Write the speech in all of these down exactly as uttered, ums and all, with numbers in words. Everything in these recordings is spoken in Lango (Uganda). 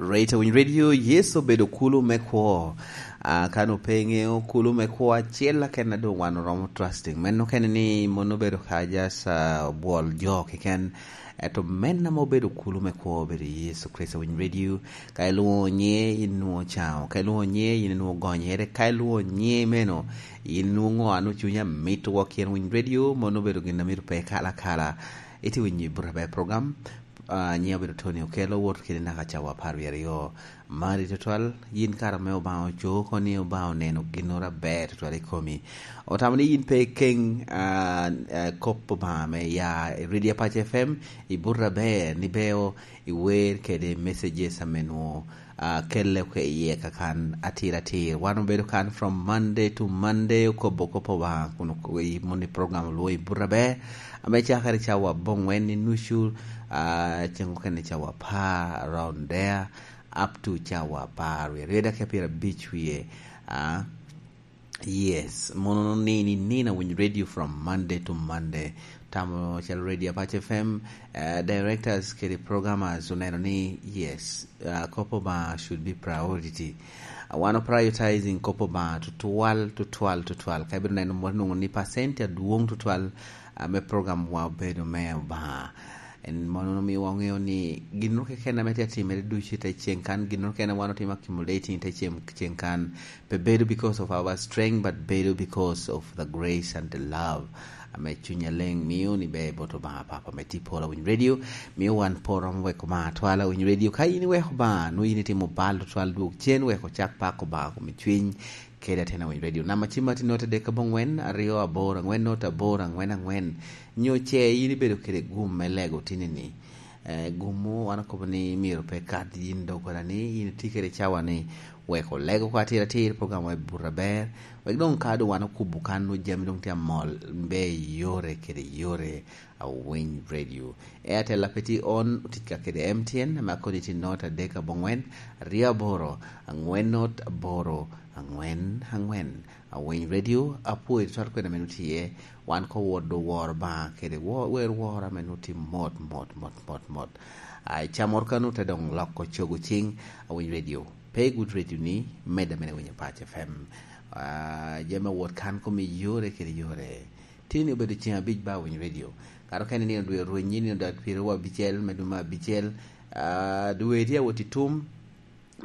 Right, Winy Radio, Yecu obedo kulu me kwo. Ah, kan ope ŋeo kulu me kwo acel, aken a doŋ wan oromo trusting. Meno kene ni mon obedo ka just, ah, bwol jo keken. Eto men ame obedo kulu me kwo obedo Yecu Kricito. Winy Radio, ka ilwoŋo nyiŋe, in nwoŋo caŋo. Ka ilwoŋo nyiŋe, in nwoŋo gonyere. Ka ilwoŋo nyiŋe meno, in nwoŋo ŋo a nwoŋo cunyi amito wok yen. Winy Radio, mon obedo gin a myero pe kala kala. Itye winyo i Buto Aber program. Ah, nyiŋa obedo Tony Okello, wot kede naka cawa apar wie aryo. Mari tutwal, yin kara me Obaŋa oco oko ni Obaŋa oneno ginnoro aber tutwal i komi. Otamo ni yin pe ikeŋ, ah, ah, kop Obaŋa me ya i Radio Apac F M, i Buto Aber, ni beo iwer kede messages ame nwoŋo, ah, kelle oko iye kakan atir atir. Wan obedo kan from Monday to Monday, okobo kop Obaŋa kun oko-, i moni program olwoŋo i Buto Aber. Ame cakere cawa aboŋwen i nucu, ah, ceŋ okene cawa apar around there, up to cawa apar wie aryo daki pyerabic wie, ah, yes, mono nini nina Winy Radio from Monday to Monday. Tamo calo Radio Apac F M, eh, directors kede programmers oneno ni, yes, ah, kop Obaŋa should be priority. Ah, wan o prioritizing kop Obaŋa tutwal, tutwal, tutwal. Ka ibino neno mot nwoŋo ni percent adwoŋ tutwal, ah, me program wa obedo me Obaŋa. En mono omiyo waŋeo ni ginnoro keken ame tye atimere ducu i te ceŋ kan, ginnoro keken ame wan otimo accumulating i te ceŋ, ceŋ kan, pe bedo because of our strength, but bedo because of the grace and the love ame Cuny Aleŋ mio ni ber bot Obaŋa Papa me tye polo Winy Radio. Mio wan poro ame weko Obaŋa twala Winy Radio. Ka in iweko Obaŋa, nwoŋo in itimo bal tutwal, dwog cen, weko cak pak Obaŋa kom i cwiny, kede atena Winy Radio. Namba cim atye note adek aboŋwen, aryo aboro aŋwen, note aboro aŋwen aŋwen. Nyo ce in ibedo kede gum me lego tini-ni? Eh, gumwu, wan okobo ni myero pe kat yin doggola ni, yin itye kede cawa ni, wek olego oko atir atir program wa i Buto Aber, wek doŋ ka doŋ wan okubo kan, nwoŋo jami doŋ tye amol, mbe i yore kede yore, a Winy Radio. Airtel ape tye on, otic ka kede M T N, ame akodi tye note adek aboŋwen, aryo aboro, aŋwen note aboro, aŋwen aŋwen. A Winy Radio, apwoyo twal kwena meno tye, wan ko wot do woro Obaŋa kede wo-, wer woro ame nwoŋo tye mot, mot, mot, mot, mot. A, i camoro kano te doŋ loko cogo ciŋ, a Winy Radio. Pe i Good Radio ni, medde mene Winy Apac F M. A, jami awot kan kom i yore kede yore. Tini obedo ceŋ abic ba Winy Radio. Kato kene nino dwe rwenyi, nino dwe pyeraryo abicel, me dwe me abicel. A, dwe tye awot i tum,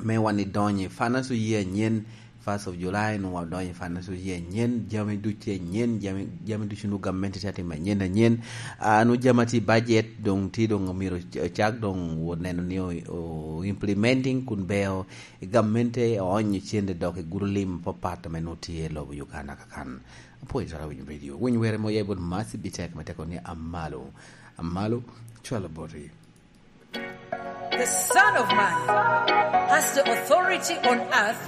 me wan idonyo i finance year anyen, first of July, nwoŋo wadonyo i finance year anyen, jami ducu tye anyen, jami, jami ducu nwoŋo gamente tye atimo anyen, anyen. Ah, nwoŋo jami atye i budget, doŋ tye doŋ omyero oc-, ocak doŋ wot neno ni o, o implementing kun beo i gamente oonyo cente dok i gudo lim apapat ame nwoŋo tye i lobo Uganda kakan. Apwoyo twal Winy Radio. Winy were mo ya i bot Mercy Bitek me teko ni Amalo. Amalo, cwalo boti. The Son of Man has the authority on earth